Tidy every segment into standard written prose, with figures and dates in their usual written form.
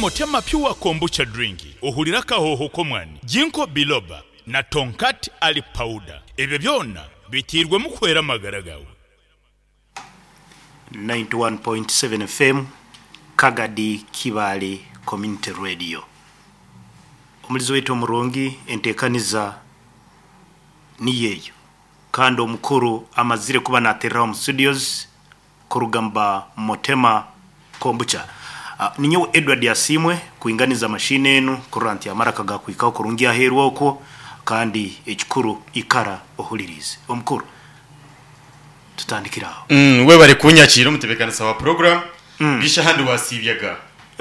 Motema Pure Kombucha Drink ohurire akahooho k'omwani, Ginkgo Biloba na Tongkat Ali Powder. Ebyo byona biteirwemu kuhwera amagara gaawe. 91.7 FM, Kagadi Kibaale Community Radio. Omulizi waitu omurungi entekaniza niyo eyo kandi omukuru amazire kuba natereraho omu studios kuruga mu ba Motema Kombucha. Ninyowe Edward Asiimwe kwinganiza machine enu kurora nti amaraka gakuhikaho kurungi aheeru okwo kandi ekikuru ikara ohuliriize. Omukuru tutandikire aho. Webare kunyakiira omutebekanisa wa program. Bisha ahandi wasiibyaga?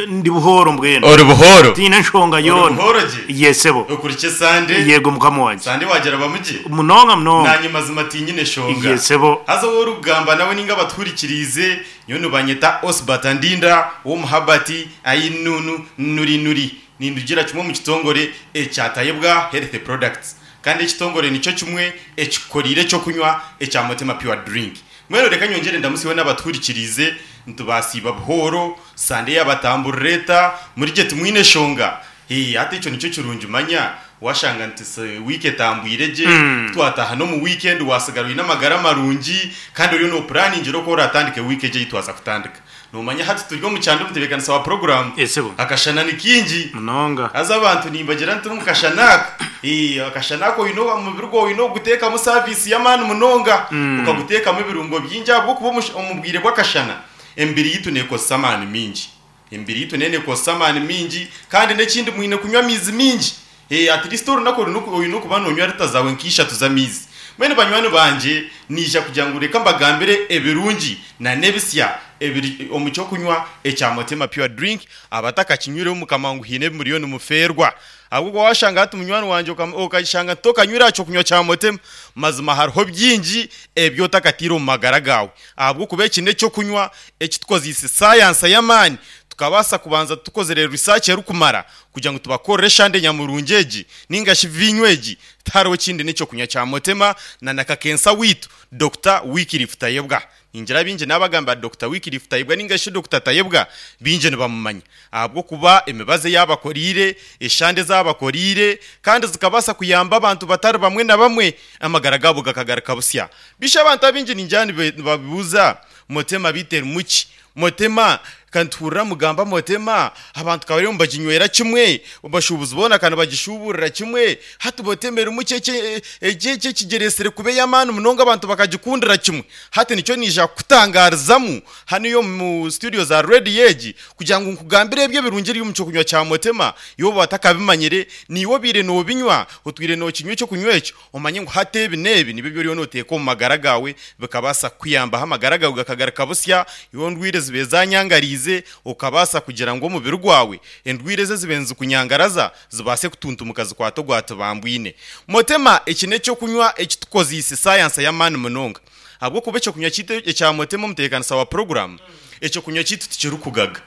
Ndi buhooro mbwenu. Ori buhooro? Tihaine nshonga Ori yoona. buhooro gye? Ye sebo. Okurikye Sande? Yego mukama wangye. Sande waagirabamu gye? Munonga munonga. Naanye mazima tinyine shonga. Ye sebo. Haza ou orikugamba nawe ninga abatuhurikiriize, nyowe nibanyeta Osbert Ndinda ow'omu Herbert Ainunu Nuri Nuri. Nindugira kimwe omu kitongore ekya Tayebwa Health Products. Kandi ekitongore nikyo kimwe ekikukoriire ekyokunywa ekya Motema Pure Drink. Mbwenu reka nyongyere ndamutsyeho n'abatuhurikiriize, nitubaasiiba buhooro, Sande yaabatamburira eta, muri gye timwine shonga? Hee, hati ekyo nikyo kirungi manya, waashanga nti wiiki etambwire gye, ku twataaha n'omu wiikendi waasigara oine amagara marungi, kandi oriyo noopuraaningira oku oraatandike wiiki egi ei twaza kutandika. Noomanya hati turi omu kyanda omutebeekanisa wa puroguraamu, akashana ni kaingi. Munonga. Haza abantu nimbagira nti omu kashana aka, ee, akashana aka oine omubiri gwawe oine kuguteekamu saaviisi y'amaani munonga, okaguteekamu ebirungo bingi ahabw'okuba omu bwire bw'akashana emibiri yaitu neekozesa amaani maingi. Emibiri yaitu neyo neekozesa amaani maingi kandi n'ekindi mwine kunywa amaizi maingi. Ee, at least orunaku oine okuba noonywa lita zaawe nk'ishatu z'amaizi. Mbwenu banywani bangye, naija kugira ngu reka mbagambire ebirungi na n'ebisya ebiri omu ky'okunywa ekya Motema Pure Drink. Abatakakinywireho Mukama ngu haine ebi muriyo nimufeerwa. Ahabw'okuba waashanga hati munywani wangye okashanga tokanywire aha ky'okunywa kya Motema, mazima hariho bingi ebi otakataire omu magara gaawe. Ahabw'okuba eki n'eky'okunywa eki tukozeise saayansa y'amaani, tukabaasa kubanza tukozire research erikumara kugira ngu tubakorere eshande nyamurungi egi ninga shi viinyo egi, tihariho kindi n'ekyokunywa kya Motema na na kakensa waitu Dokita Wycliffe Tayebwa. Ningira baingi nabagambira Dokita Wycliffe Tayebwa ninga shi Dokita Tayebwa baingi nibamumanya ahabw'okuba emibazi ei abakoreire, eshande ezi abakoreire kandi zikabaasa kuyamba abantu batari bamwe na bamwe amagara gaabo gakagaruka busya. Bishi abantu abaingi ningira nibabuuza Motema beitu erimu ki? Motema, ka nituhurira mugamba Motema, abantu ka bariyo nibaginywera kimwe, abashuubuzi boona ka nibagishuuburira kimwe, hati Motema erimu ki eki eki ekigyeretsire kuba ey'amaani munonga abantu bakagikundira kimwe? Hati nikyo naija kukutangaarizamu hanuya omu situdiyo za rediyo egi kugira ngu nkugambire ebyo ebirungi ebiri omu ky'okunywa kya Motema, iwe waaba otakabimanyire, naiwe obaire noobinywa, otwire nookinywa eky'okunywa ekyo, Omanye ngu hati ebi n'ebi nibyo ebi oriyo nooteeka omu magara gaawe bikabaasa kukuyambaho amagara gaawe gakagaruka busya, iwe endwaire zibaire zaanyangariize okabaasa kugira ngu omubiri gwawe endwaire ezi ezibaire nizikunyangaraza zibaase kutuntumuka zikwate ogwatibambwine. Motema eki n'eky'okunywa eki tukozeise saayansa y'amaani munonga ahabw'okuba eky'okunywa kyaitu ekya Motema omutebeekanisa wa puroguraamu, eky'okunywa kyaitu tikirikugaga.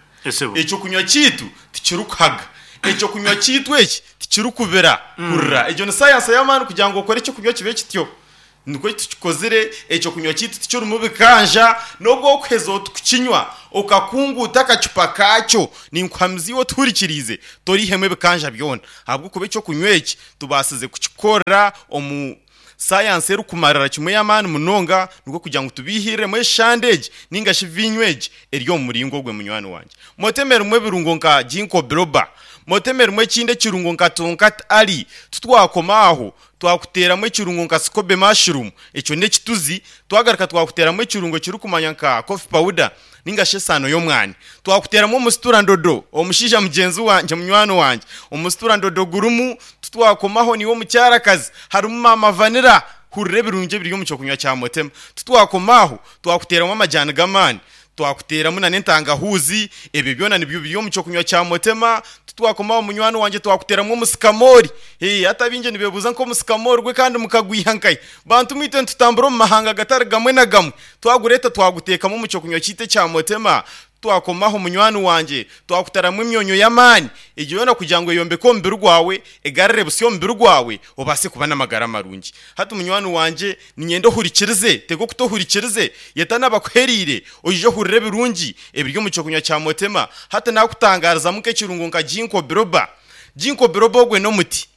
Eky'okunywa kyaitu tikirikuhaga. Eky'okunywa kyaitu eki tikirikubira kurira. Egyo ni sayansi y'amaani kugira ngu okore eky'okunywa kibe kityo. Nikwo tukikozire, eky'okunywa kyaitu tikirimu bikanja. N'obu orikuheza oti kukinywa okakunguuta akacupa kaakyo, ninkuhamiza iwe otuhurikiriize, toriihemu ebikanja byona. Ahabw'okuba eky'okunywa eki tubaasize kukikorera omu. Sayansi erikumarira kimwe ey'amaani munonga nikwo kugira ngu tubiihiriremu eshande egi ninga shi viinyo egi eri omu muringo ogwe munywani wangye. Motema erimu ebirungo nka Ginkgo biloba, motema erimu ekindi ekirungo nka Tongkat Ali, titwakoma aho, twakuteeramu ekirungo nka Scobe mushroom, ekyo n'ekituzi, twagaruka twakuteeramu ekirungo ekirikumanywa nka coffee powder ninga shi esaano y'omwani, twakuteeramu omusitura ndodo, omushaija mugyenzi wangye, munywani wangye, omusitura ndodo gurimu, titwakomaho niiwe omukyarakazi, Harimu maama vanilla, hurira ebirungi ebiri omu ky'okunywa kya Motema. Titwakoma aho, twakuteeramu amajaani g'amaani, twakuteeramu nana entangahuuzi, ebyo byona nibyo biri omu ky'okunywa kya Motema. Titwakoma aho munywani wangye twakuteeramu omusikamoori. Hee, hati abaingi nibeebuuza nk'omusikamoori gwe kandi mukagwiha nkahi? Bantu mwe itwe nitutambura omu mahanga gatari gamwe na gamwe, twagureeta twaguteekamu omu ky'okunywa kyaitu ekya Motema. Twakomaho munywani wangye, twakutaramu emyonyo y'amaani, egyo yoona kugira ngu eyombeke omubiri gwawe, egarure busya omubiri gwawe, obaase kuba n'amagara marungi. Hati munywani wangye, niinyenda ohurikirize, tega okutu ohurikirize, yeta n'abakuhereire, oije ohurire ebirungi ebiri omu ky'okunywa kya Motema. Hati naakutangaarizamu nk'ekirungo nka Ginkgo biloba. Ginkgo biloba ogwe n'omuti.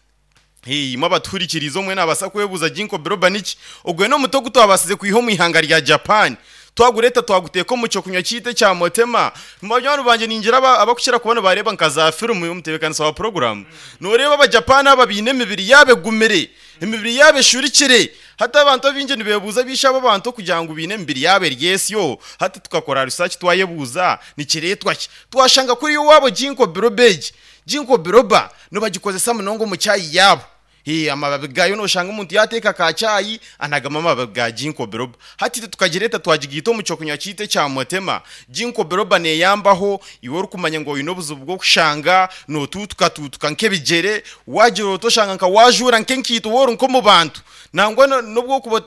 Hee, imwe abatuhurikiriize omwe naabaasa kwebuuza Ginkgo biloba niki? Ogwe n'omuti ogu twabaasize kwiha omu ihanga rya Japan. Twagureeta twaguteeka omu ky'okunywa kyaitu ekya Motema. Banywani bangye ningira abakukira kuba nibareeba nka za firimu omutebeekanisa wa puroguraamu, nooreeba Abajapani aba baine emibiri yaabo egumire, emibiri yaabo eshurikire. Hati abantu abaingi nibeebuuza baishe abo abantu okugira ngu baine emibiri yaabo eri esyo. Hati tukakora risaaki twayebuuza nikireetwa ki? Twashanga kuriya owaabo Ginkgo biloba egi. Ginkgo biloba nibagikozesa munonga omu chai yaabo. Hee, amababi gaayo nooshanga omuntu yaateeka ka chai anagamu amababi ga Ginkgo biloba. Hati itwe tukagireeta twagigaita omu ky'okunywa kyaitu ekya Motema. Ginkgo biloba neeyambaho iwe orikumanya ngu oine obuzibu bw'okushanga nootuutukatuutuka nk'ebigyere, waagira oti oshanga nka waajuura nk'enkaito waaba ori nk'omu bantu. Nangwa n'obu orikuba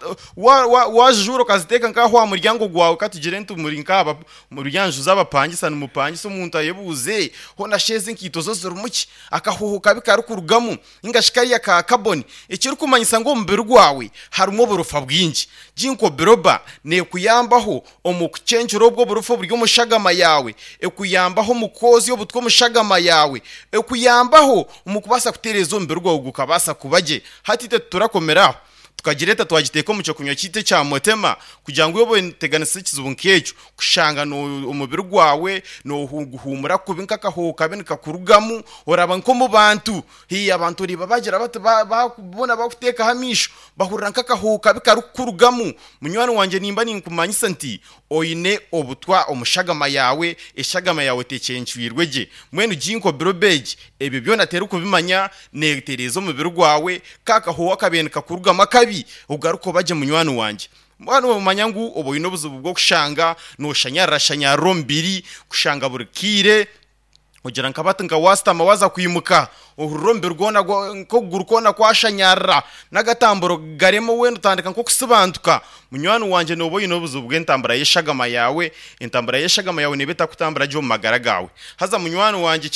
waazijuura okaziteeka nk'aha aha muryango gwawe katugire nti muri nk'aha Omuri nju z'abapangisa nimupangisa omuntu ayebuuze, hoona shi ezi nkaito zo zirimu ki? Akahuuho kabi karikurugamu ninga shi kariya ka kaboni, ekirikumanyisa ngu omubiri gwawe harimu oburofa bwingi. Ginkgo biloba neekuyambaho omu kucencura obwo oburofa oburi omu shagama yaawe, ekuyambaho omu kwozya obutwa omu shagama yaawe, ekuyambaho omu kubaasa kutereeza omubiri gwawe gukabaasa kuba gye. Hati itwe titurakomera aho. Tukagireeta twagiteeka omu ky'okunywa kyaitu ekya Motema kugira ngu waaba oteganisa ekizibu nk'ekyo, kushanga omubiri gwawe nooguhuumura kubi nk'akahooho kabi nikakurugamu, oraba nk'omu bantu. Haihi abantu oreeba baagira bati boona bakuteekaho amaisho, bahurira nk'akahooho kabi karikukurugamu. Munywani wangye nimba ninkumanyisa nti Oine obutwa omu shagama yaawe, eshagama yaawe tecencwirwe gye. Mbwenu ginkgo biroba egi, ebyo byona terikubimanya, neetereeza omubiri gwawe, ka kahooho akabaire nikakurugamu akabi, ogaruke oba gye munywani wangye. Mbwenu noomanya ngu oba oine obuzibu bw'okushanga nooshanyarara-shanyarara omubiri, kushanga buri kaire. Ogira nka bati nka waasitama waaza kwimuka, ohurira omubiri gwona nk'okuguru kwona kwashanyarara, n'agatamburo garema weena otandika nk'okusibantuka. Munywani wangye nooba oine obuzibu bw'entambura y'eshagama yaawe, entambura y'eshagama yaawe neeba etarikutambura gye omu magara gaawe. Haza munywani wangye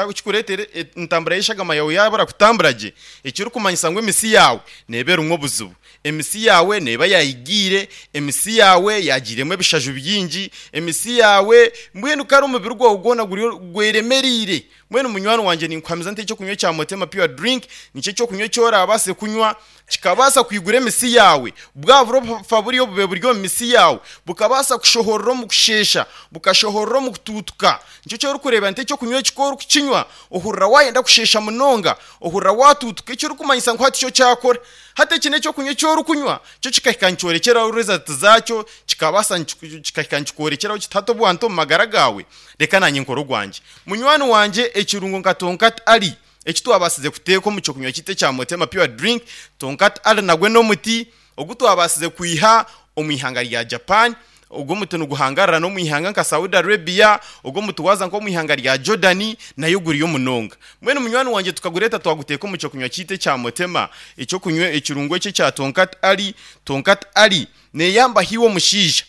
ekikureetera entambura y'eshagama yaawe yaabura kutambura gye, ekirikumanyisa ngu emisi yaawe neeba erimu obuzibu. Emisi yaawe neeba yaayigiire, emisi yaawe yaagiiremu ebishaju bingi, emisi yaawe, mbwenu kare omubiri gwawe gwona guriyo gweremereire. Mbwenu munywani wangye ninkuhamiza nti eky'okunywa ekya Motema Pure Drink nikyo eky'okunywa eki oraabaase kunywa kikabaasa kwigura emisi yaawe, bwa burofa buriya obubaire buri omu misi yaawe bukabaasa kushohorera omu kusheesha, bukashohorera omu kutuutuka. Nikyo eki orikureeba nti eky'okunywa eki ku orikukinywa ohurira waayenda kusheesha munonga, ohurira waatuutuka ekirikumanyisa ngu hati kyo kyakora. Hati eki n'eky'okunywa eki orikunywa, kyo kikahika nikyorekyeraho results zaakyo, kikabaasa kikahika nikikworekyeraho kiti hati obu wanta omu magara gaawe, reka naanye nkore ogwangye. Munywani wangye ekirungo nka Tonkat Ali eki twabaasize kuteeka omu ky'okunywa kyaitu ekya Motema Pure Drink, Tonkat Ali nagwe n'omuti ogu twabaasize kwiha omu ihanga rya Japan. Ogwo omuti niguhangarira n'omu ihanga nka Saudi Arabia, ogwo omuti waaza nk'omu ihanga rya Jordan nayo guriyo munonga. Mbwenu munywani wangye tukagureeta twaguteeka omu ky'okunywa kyaitu ekya Motema, eky'okunywa ekirungo eki ekya Tonkat Ali. Tonkat Ali neeyambaho iwe omushaija,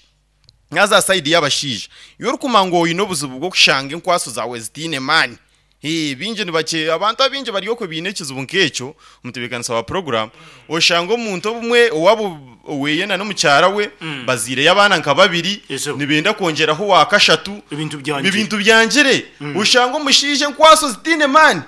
naaza aha sayidi y'abashaija. Iwe orikumanya ngu oine obuzibu bw'okushanga enkwaso zaawe zitaine maani, Hee, baingi nibakye, abantu abaingi bari okwe baine ekizibu nk'ekyo, omutebeekanisa wa puroguraamu, oshanga omuntu obumwe owaabo oweye na n'omukyara we bazaireyo abaana nka babiri, Ezo. nibenda kwongyeraho owa kashatu, Ebintu byangire. ebintu byangire. Oshanga omushaija enkwaso zitaine maani,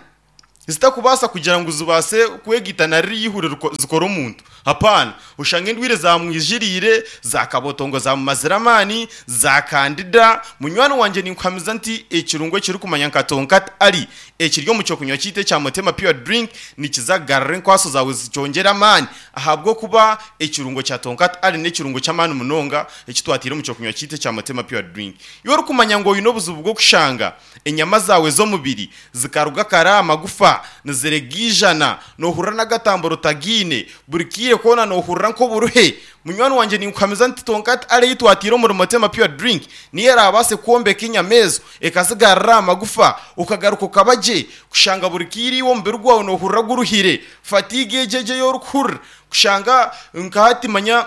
zitakubaasa kugira ngu zibaase kwegaita na ririya eihuri zikore omuntu. Hapaana. Oshanga endwaire zaamwijiriire, za kabotongo zaamumazire amaani, za kandida. Munywani wangye ninkuhamiza nti ekirungo ekirikumanya nka Tonkat Ali ekiri omu ky'okunywa kyaitu ekya Motema Pure Drink nikiza kugarura enkwaso zaawe zikyongyere amaani ahabw'okuba ekirungo kya Tonkat Ali n'ekirungo ky'amaani munonga eki twataire omu ky'okunywa kyaitu ekya Motema Pure Drink. Iwe orikumanya ngu oine obuzibu bw'okushanga enyama zaawe z'omubiri zikaruga kare aha magufa niziregaijana, noohurira n'agatamburo otagaine, buri kaire koona noohurira nk'oburuhe. Munywani wangye ninkuhamiza nti Tonkat Ale ei twataire omuri Motema Pure Drink niyo eraabaase kwombeka enyama ezo ekazigarura aha magufa okagaruka okaba gye. Kushanga buri kaire iwe omubiri gwawe noohurira guruhire, fatigue egyo egyo ei orikuhurira, kushanga nka hati manya.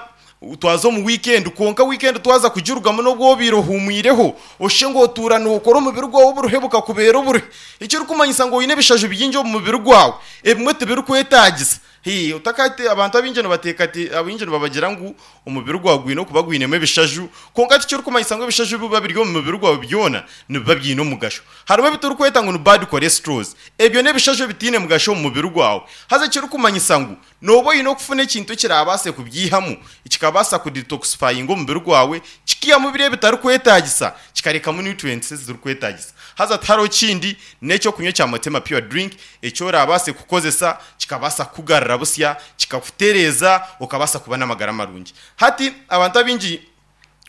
Twaza omu wiikendi kwonka wiikendi twaza kugirugamu n'obu obaire ohuumwireho oshushe ngu otuura nookora omubiri gwawe oburuhe bukakubeera oburuhe. Ekirikumanyisa ngu oine ebishaju bingi omu mubiri gwawe ebimwe tibirikwetaagisa. Hii, otakate abantu abaingi nibateekate abaingi nibabagira ngu omubiri gwawe gwine okuba gwinemu ebishaju kwonka tikirikumanyisa ngu ebishaju ebiba biri omu mubiri gwawe byona nibiba biine omugasho. Harimu ebi turikweta ngu ni bad cholesterols. Ebyo n'ebishaju ebitaine mugasho omu mubiri gwawe. Haza ekirikumanyisa ngu Nooba oine okufuna ekintu ekiraabaase kubyihamu, kikabaasa kudetoxifyinga omubiri gwawe, kikiihamu biri ebitarikwetaagisa, kikarekamu nutrients ezirikwetaagisa. Haza tihariho kindi, n'eky'okunywa ekya Motema Pure Drink eki oraabaase kukozesa kikabaasa kukugarura busya, kikakutereeza, okabaasa kuba n'amagara marungi. Hati abantu abaingi.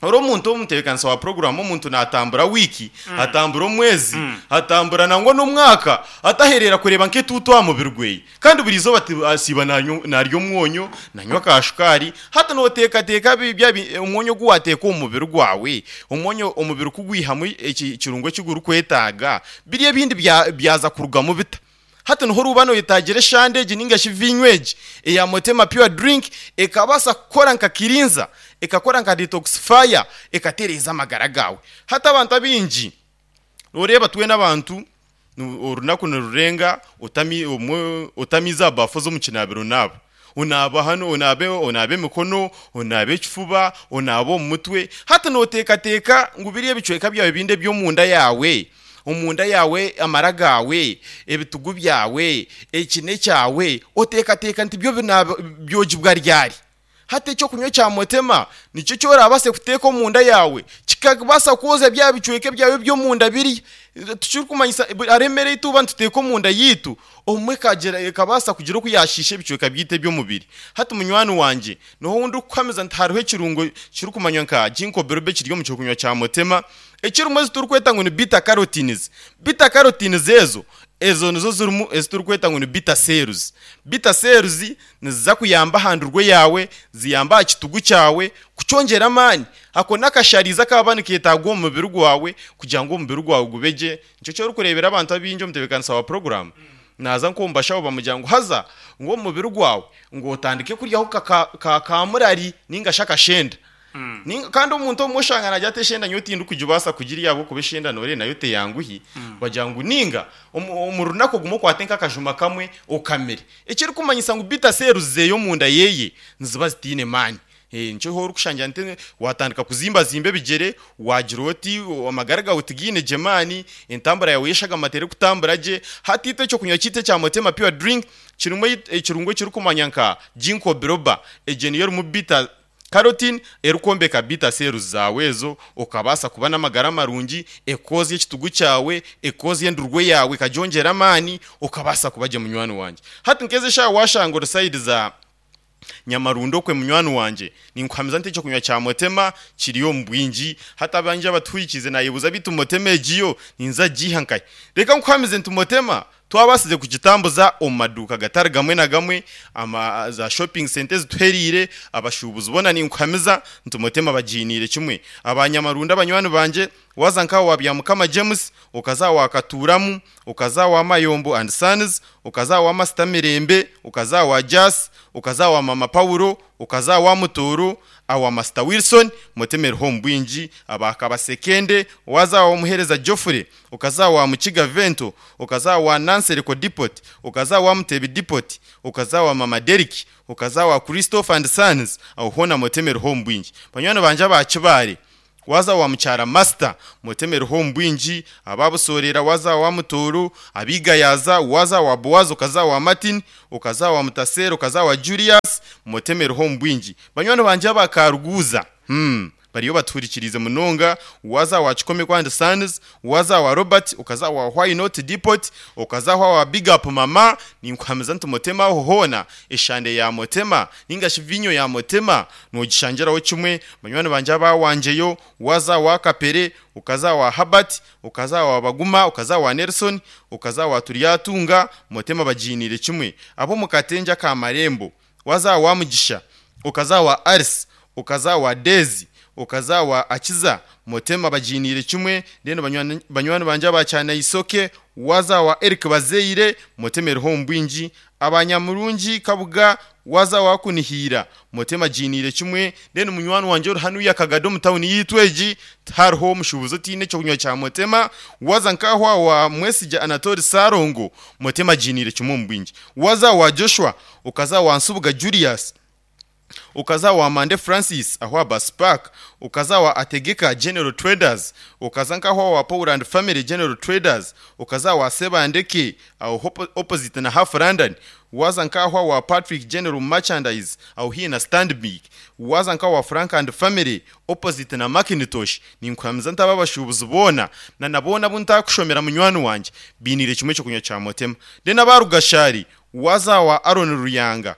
Ori omuntu omutebeekanisa wa puroguraamu, omuntu naatambura wiiki, atambura omwezi, atambura nangwa n'omwaka atahereera kureeba nk'etuutu aha mubiri gwe. Kandi buri izooba asiiba naarya omwonyo, nanywa ka shukaari. Hati nooteekateeka omwonyo ogu waateeka omu mubiri gwawe, omwonyo omubiri ku gwihamu ekirungo eki gurikwetaaga, biri ebindi byaza kurugamu bita? Hati niho orikuba noyetaagira eshande egi ninga shi viinyo egi eya Motema Pure Drink ekabaasa kukora nka kirinza, ekakora nka detoxifier, ekatereeza amagara gaawe. Hati abantu abaingi noreeba twena abantu orunaku nirurenga otami obumwe otamiize aha baafu z'omu kinaabiro onaaba. Onaaba hanu, onaabe onaabe emikono, onaabe ekifuba, onaabe omu mutwe. Hati nooteekateeka ngu biri ebicweka byawe ebindi eby'omunda yaawe, omunda yaawe, amara gaawe, ebitugu byawe, ekine kyawe, oteekateeka nti byo binaaba byogibwa ryari? Hati eky'okunywa ekya Motema nikyo eki oraabaase kuteeka omunda yaawe kikabaasa kwoza bya bicweka byawe eby'omunda biriya. Tikirikumanyisa hariho emere ei tuba nituteeka omunda yaitu obumwe ekagira ekabaasa kugira oku yaashiisha ebicweka byaitu eby'omubiri. Hati munywani wangye, niho ou ndikukuhamiza nti hariho ekirungo kirikumanywa nka Ginkgo biloba ekiri omu ky'okunywa kya Motema ekirimu ezi turikweta ngu ni beta carotenes. Beta carotenes ezo, ezo nizo zirimu ezi turikweta ngu ni beta cells. Beta cells Niziza kuyamba aha ndurwe yaawe, ziyambe aha kitugu kyawe kukyongyera amaani. Ako n'akasharizi akaba nikeetaagwa omu mubiri gwawe kugira ngu omubiri gwawe gube gye. Nikyo eki orikureebera abantu abaingi omutebeekanisa wa puroguraamu naaza nk'omu bashaho bamugira ngu haza ngu omu mubiri gwawe ngu otandike kuryaho ka kaamurari nainga shi akashenda. Kandi omuntu obumwe oshanga naagira ati eshenda nyowe tindikugibaasa kugirya ahabw'okuba eshenda nooreeba nayo teyanguhi. Bagira ngu nainga omu runaku ogume okwate nk'akajuma kamwe okamire. Ekirikumanyisa ngu bita seeruzi zeye omunda yeye niziba zitaine maani. Nikyo orikushangira nti watandika kuzimbazimba ebigyere, wagira oti amagara gaawe tigaine gye maani, entambura yaawe y'eshagama terikutambura gye. Hati itwe ekyokunywa kyaitu ekya Motema Pure Drink kirimu ekirungo ekirikumanywa nka Ginkgo biloba. Egyo niyo erimu bita Carotene erikwombeka beta cells zaawe ezo okabaasa kuba n'amagara marungi, ekoozya ekitugu kyawe, ekoozya endurwe yaawe ekagyongyera amaani, okabaasa kuba gye munywani wangye. Hati nk'ezi eshaaha waashanga ori sayidi za Nyamarundo okwe munywani wangye, ninkuhamiza nti ekyokunywa kya Motema kiri omu bwingi. Hati abangye abatuhurikiize naayebuuza beitu Motema egi yo ninza kugiiha nkahi? Reka nkuhamize nti Motema Twabaasize kugitambuza omu maduuka gatari gamwe na gamwe, ama za shopping centre ezituhereire, abashuubuzi boona ninkuhamiza nti Motema bagiiniire kimwe. Aba Nyamarundo abanywani bangye, waaza nka owa Byamukama James, okaza owa Katuuramu, okaza owa Mayombo and Sons, okaza owa Masita Mirembe, okaza owa Jas, okaza owa Mama Paulo, okaza owa Mutooro, Awa Masita Wilson, Motema eriho omu bwingi, aba Kabasekende, waaza awa Omuheereza Geoffrey, okaza awa Mukiga Vento, okaza awa Nansereko Depot, okaza awa Mutebi Depot, okaza awa Mama Derrick, okaza awa Christopher and Sons, aho hoona Motema eriho omu bwingi. Banywani bangye aba Kibaare, waaza awa Mukyara Master, Motema eriho omu bwingi, aba Busoorera waaza awa Mutooro, aba Igayaza, waaza awa Boaz okaza awa Martin, okaza awa Mutaseera, okaza awa Julius, Motema eriho omu bwingi. Banywani bangye aba Karuguuza, hmm, bariyo batuhurikiriize munonga, waaza awa Kikomeko and Sons, waaza awa Robert, okaza awa Why Not Depot, okaza aho awa Big Up Mama, ninkuhamiza nti Motema aho hoona, eshande ya Motema, ninga shi viinyo ya Motema, noogishangiraho kimwe. Banywani bangye aba Wangyeyo, waaza awa Kapere, okaza awa Herbert, okaza awa Baguma, okaza awa Nelson, okaza awa Turyatunga, Motema bagiiniire kimwe. Ab'omu Katengye aka Marembo, Waza awa Mugisha, okaza awa Alice, okaza awa Daisy, okaza awa Akiza, Motema bagiiniire kimwe, then banywani bangye aba Kyanaisoke, waza awa Eric Bazeire, Motema eriho omu bwingi, Abanyamurungi Kabuga waza wakunihiira Motema agiiniire kimwe. Then munywani wangye ori hanuya Kagadi omu tawuni yiitu egi tihariho omushuubuzi otaine ekyokunywa kya Motema. Waza nk'aho owa Mwesigye Anatoli Ssalongo, Motema agiiniire kimwe omu bwingi. Waza owa Joshua, okaza owa Nsubuga Julius, okaza owa Mande Francis aho aha Bus Park, okaza owa Ategeka General Traders, okaza nk'aho owa Paul and Family General Traders, okaza owa Sebandeke aho opposite na Half London, waaza nk'aho owa Patrick General Merchandise aho haihi na Stanbic, waaza nk'aho Frank and Family opposite na Macintosh, ninkuhamiza nti aba abashuubuzi boona na na boona abu ntakushomera munywani wangye bainiire kimwe eky'okunywa kya Motema. Then aba Rugashari, waaza owa Aaron Ruyanga,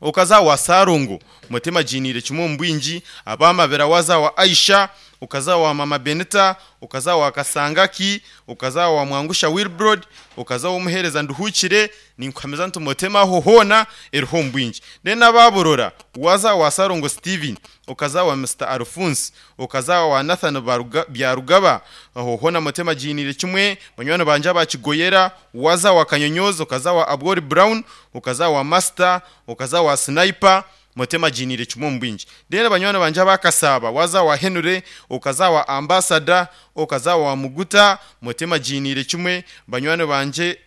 Okaza wa Sarongo, Motema agiiniire kimwe omu bwingi, aba Mabira waza wa Aisha, okaza wa Mama Benita, okaza wa Kasangaki, okaza wa Mwangusha Wilbrod, okaza w'omuheereza Nduhukire, ninkuhamiza nti Motema aho hoona eriho omu bwingi. Then aba Burora, waza wa Sarongo Steven, okaza wa Mister Alphonse, okaza wa Nathan Byarugaba, aho hoona Motema agiiniire kimwe, banywani bangye aba Kigoyera, waza wa Kanyonyozi, okaza wa Abwori Brown, okaza wa Master, okaza wa Sniper, Motema agiiniire kimwe omu bwingi. Then banywani bangye aba Kasaaba, waza wa Henry, okaza wa Ambassador, okaza wa Muguta, Motema agiiniire kimwe, banywani bangye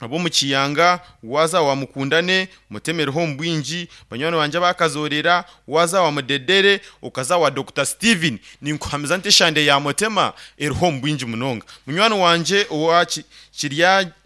ab'omu Kiyanga, waza wa Mukundane, Motema eriho omu bwingi, banywani bangye aba Kazoorera, waza wa Mudedere, okaza wa Dokita Steven, ninkuhamiza nti eshande ya Motema eriho omu bwingi munonga. Munywani wangye owa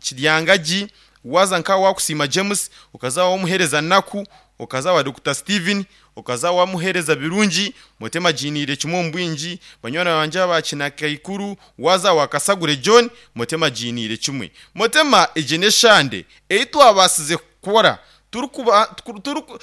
Kiryangagi, Waaza nka Wakusiima James, okaza wamuheereza Naku, okaza wa Dokita Steven, okaza wamuheereza Birungi, Motema agiiniire kimwe omu bwingi, banywani bangye aba Kinakaikuru, waaza wa Kasagure John, Motema agiiniire kimwe. Motema egi n'eshande ei twabaasize kukora turikuba turiku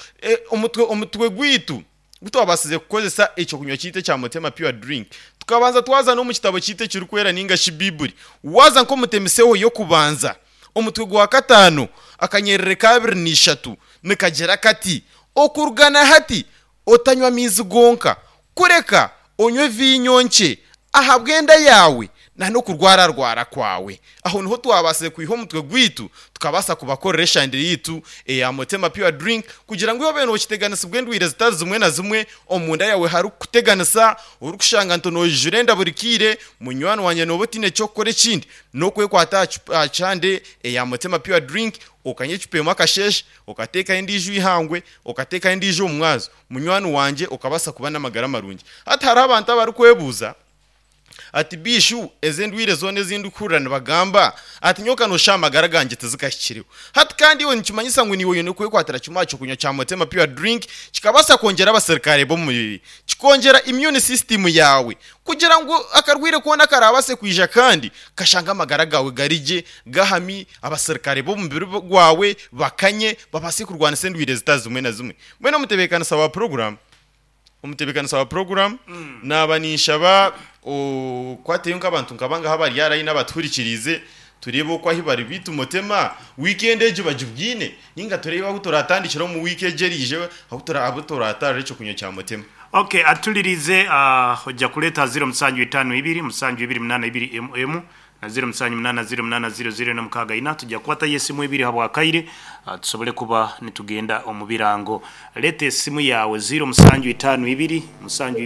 omutwe omutwe gwaitu Ku twabaasize kukozesa eky'okunywa kyaitu ekya Motema Pure Drink, tukabanza twaza n'omu kitabo kyaitu ekirikwera nainga shi Baiburi. Waaza nk'omutemiseho y'okubanza, omutwe gwa kataano akanyerere ka 23 nikagira kati, Okuruga na hati otanywa maizi gonka, kureka onywe viinyo nkye ahabw'enda yaawe na n'okurwararwara kwawe. Aho niho twabaasize kwiha omutwe gwaitu tukabaasa kubakorera eshandire yaitu eya Motema Pure Drink kugira ngu iwe obe nookiteganisibwa endwaire zitari zimwe na zimwe omunda yaawe harikukuteganisa, orikushanga nti noijura enda buri kaire, munywani wangye nooba otaine ky'okukora ekindi n'okwekwata aha kyande eya Motema Pure Drink okanywa ecupa emwe akasheeshe, okateekaho endiijo eihangwe, okateekaho endiijo omu mwazo, munywani wangye okabaasa kuba n'amagara marungi. Hati hariho abantu abarikwebuuza ati, Biishu, ezi endwaire zoona ezi ndikuhurira nibagamba ati nyowe ka nooshusha amagara gangye tizikahikireho. Hati kandi iwe nikimanyisa ngu naiwe oine kwekwatira kimwe aha ky'okunywa kya Motema Pure Drink kikabaasa kwongyera abaserukare b'omubiri, kikongyera immune system yaawe kugira ngu akarwaire koona akaraabaase kwija kandi kashange amagara gaawe gari gye, gahami, abaserukare b'omubiri gwawe bakanye babaase kurwanisa endwaire zitari zimwe na zimwe. Mbwenu omutebeekanisa wa puroguraamu Omutebeekanisa wa puroguraamu, naaba ninshaba okwateyo nk'abantu nka bangahi abari aha layini abatuhurikiriize tureebe oku ahu bari beitu Mutema wiikendi egi bagibwine nainga tureebe ahu turatandikire omu wiiki egi eriije ahu turaatarire eky'okunywa kya Mutema. Ok atulirize oja kureeta ziro musanju itaano ibiri musanju ibiri munaana ibiri emu emu na ziro musanju munaana ziro munaana ziro ziro ena mukaaga ina. Tuja kukwatayo esimu ibiri habw'akaire tusobole kuba nitugenda omu birango. Leeta esimu yaawe ziro musanju itaano ibiri musanju ibiri.